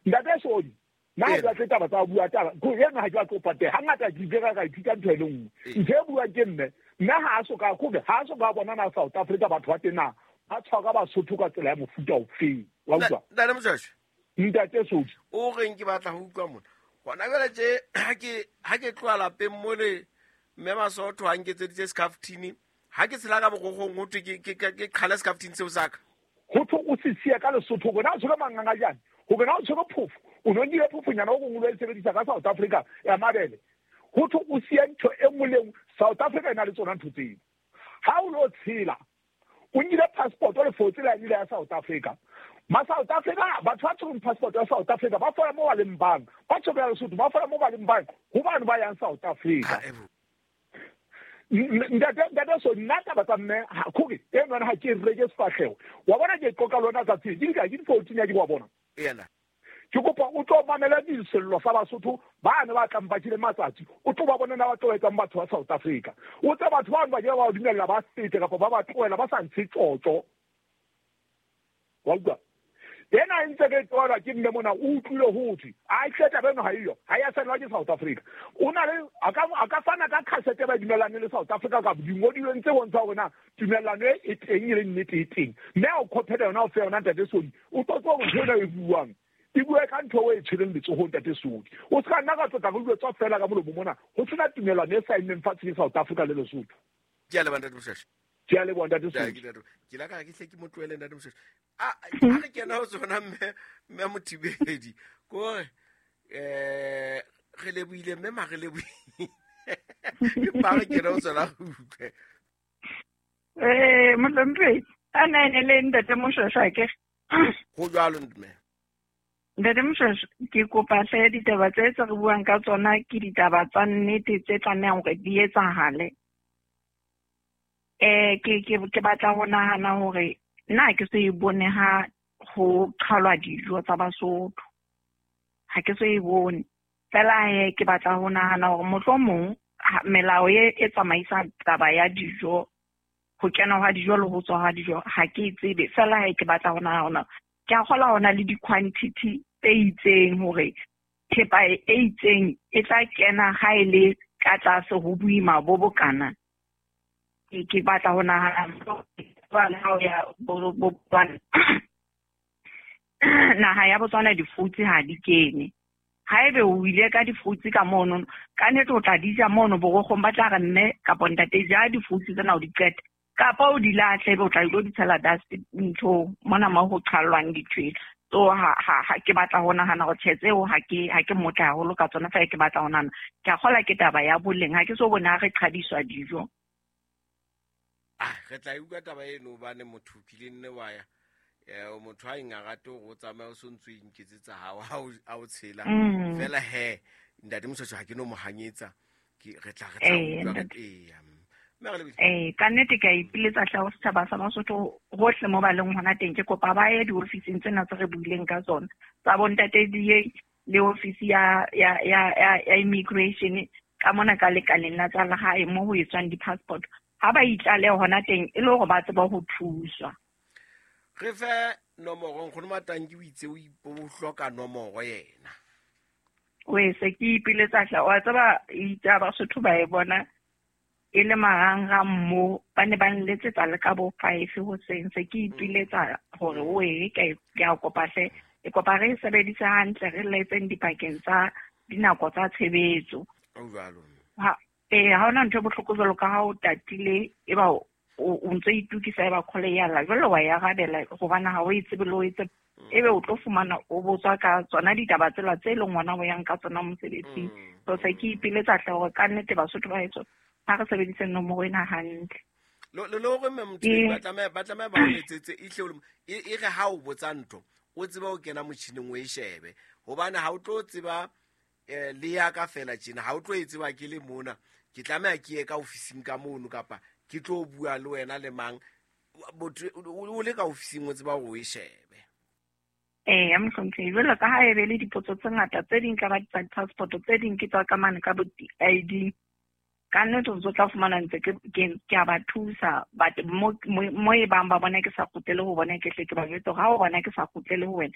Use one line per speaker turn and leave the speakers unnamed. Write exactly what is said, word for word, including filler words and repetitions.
Ntate Sodi, nna ha ke batle taba tsa ho bua taba, ko ena ha ke batle ho pateha. Hangata ke ile ka ka ithuta ntho e le nngwe. Ntho e buang ke mme, mme ha a soka kore ha a soka bona na South Africa batho ba teng na ba tshwara Basotho ka tsela ya mofuta ofeng. Wa utlwa?
Ntate Moshweshwe.
Ntate Sodi.
O reng ke batla ho utlwa mona. Hona jwale tje ha ke ha ke tloha lapeng mole mme Masotho ha nketseditse scaftini, ha ke tshela ka borogong ho thwe ke ke ke qhale scaftini seo sa ka.
Ho thwe o se siya ka Lesotho hore na o tshwere mangangajane, hore na o tshwere phofo, o no nkile phofonyana o gongwe o e sebedisa ka South Africa ya mabele. Ho thwe o siya ntho e nngwe le nngwe, South Africa e na le tsona ntho tseo. Ha o lo tshela, o nkile passport o le fotse la ile ya South Africa. Ma South Africa, batho ba tshwereng passport ya South Africa ba fola mo ba leng bang, ba tshwere ya Lesotho ba fola mo ba leng bang, ho bane ba yang South Africa. Ntate ntate so nna taba tsa mme ha kore e nwana ha ke reke sefahleho. Wa bona ke qoqa le wena tsatsi ke di ka ke di fourteen ya ke wa bona.
Yena.
Ke kopa o tlo mamela disello sa Basotho ba ne ba tlang ba tjile matsatsi, o tlo ba bona na ba tlo etsang batho ba South Africa. O tse batho ba ba ke ba dumella ba fete kapa ba ba tlohela ba sa ntshe tjotjo. Wa utlwa? Ena e ntse ke tswalwa ke mme mona o utlwile ho thwe a hle taba eno ha eyo, ha ya saenwa ke South Africa. O na le a ka a ka fana ka cassette ba dumellane le South Africa ka dingodilweng tse bontshang hore na tumellano e e teng e le nnete e teng. Mme ha o khophela yona o fe yona Ntate Sodi, o tlo tseba hore ntho ena e buang e bue ka ntho e tshwereng letsohong Ntate Sodi. O se ka nna ka tlotla re utlwe tswa fela ka molomo mona, ho sena tumellano e saennweng fatshe ke South Africa le Lesotho.
Ke a leboha Ntate Moshweshwe.
Ke a leboha Ntate Sodi.
Ke la ka ke hle ke mo tlohele Ntate Moshweshwe. A a re kena ho tsona mme mme Mothibedi. Kore eh re lebohile mme ma re lebohile. Empa re kena ho tsona re utlwe.
Eh Mohlomphehi, a na ene le Ntate Moshweshwe akere?
Ho jwalo mme.
Ntate Moshweshwe, ke kopa hle ditaba tse tse re buang ka tsona ke ditaba tsa nnete tse tlamehang hore di etsahale. Eh ke ke ke batla ho nahana hore nna ke so e bone ha ho qhalwa dijo tsa Basotho. Ha ke so e bone. Fela he ke batla ho nahana hore mohlomong melao e e tsamaisang taba ya dijo, ho kena hwa dijo le ho tswa hwa dijo, ha ke e tsebe. Fela he ke batla ho nahana ke a kgola hona le di-quantity tse itseng hore thepa e itseng e tla kena ha e le ka tlase ho boima bo bokana. Ke ke batla ho nahana jwale ha o ya bo bo Botswana, naha ya Botswana di-fruits ha di kene. Haebe o ile ka di-fruits ka mono, ka nnete o tla di ja mono borokgong, ba tla re mme kapa ntate ja di-fruits tsena o di qete, kapa o di lahle ebe o tla ilo di tshela dust nthong mona mo ho qhallwang dithwele. So ha ha ha ke batla ho nahana hore tjhe tseo ha ke ha ke motle haholo ka tsona, fela ke batla ho nahana ke a kgola ke taba ya boleng, ha ke so bone ha re qhadiswa dijo.
Ah, re tla utlwa taba eno hobane motho o kile nne wa ya. Eh, motho ha eng a rate hore o tsamaye o so ntso o inketsetsa hao ha o ha o tshela.
Mm.
Fela he, Ntate Moshweshwe ha ke no mo hanyetsa. Ke re tla re tla
Eh,
utlwa
ntate.
eya. Mme re lebile.
Eh, ka nnete ke a ipiletsa hle ho setjhaba sa Basotho hohle mo ba leng hona teng. Ke kopa ba ye diofising tsena tse re buileng ka tsona tsa bo ntate D A le ofisi ya ya ya ya, ya immigration ka mona ka lekaleng la tsa lehae mo ho etswang di-passport. Ha ba itlale hona teng e le hore ba tsebe ho thuswa.
Re fe nomoro, nkgono Matanki o itse o ipo o hloka nomoro yena.
O e se ke ipiletsa hle, wa tseba itse ha Basotho ba e bona e le marangrang mo, ba ne ba nletsetsa le ka bo five hoseng. Se ke ipiletsa hore o e ke ke a kopa hle, ke kopa re e sebedise hantle, re letseng dipakeng tsa dinako tsa tshebetso.
O jwalo.
Ha, eh, ha hona ntho e bohloko jwalo ka ha o tatile, e ba o, o ntso itokisa e ba call ya lla, jwale wa e arabela hobane ha o e tsebe le o e tsebe. Ebe o tlo fumana o botswa ka tsona ditaba tsela tse leng ngwana o yang ka tsona mosebetsing.
Mm.
So se ke ipiletsa hle hore ka nnete Basotho ba heso ha re sebedise nomoro ena hantle.
Lo lo lo hore mme Mothibedi
Ke
ba tlameha, ba tlameha ba o letsetse ehle o le mo-, e, e re ha o botsa ntho, o tsebe ho kena motjhining o e shebe. Hobane ha o tlo tseba, eh, le ya ka fela tjena, ha o tlo e tseba ke le mona, ke tlameha ke ye ka ofising ka mono kapa ke tlo bua le wena le mang, motho o le ka ofising o tseba hore o e shebe.
Eh, ya mohlomphehi, jwalo ka ha e be le dipotso tse ngata, tse ding ka ba tsa di-passport, tse ding ke tsa ka mane ka bo I D. Ka nnete o ntso tla fumana ntse ke, ke, ke a ba thusa, but mo, mo, mo e bang ba bona ke sa kgutlele ho bona, ke hle ke ba jwetse hore ha o bona ke sa kgutlele ho wena,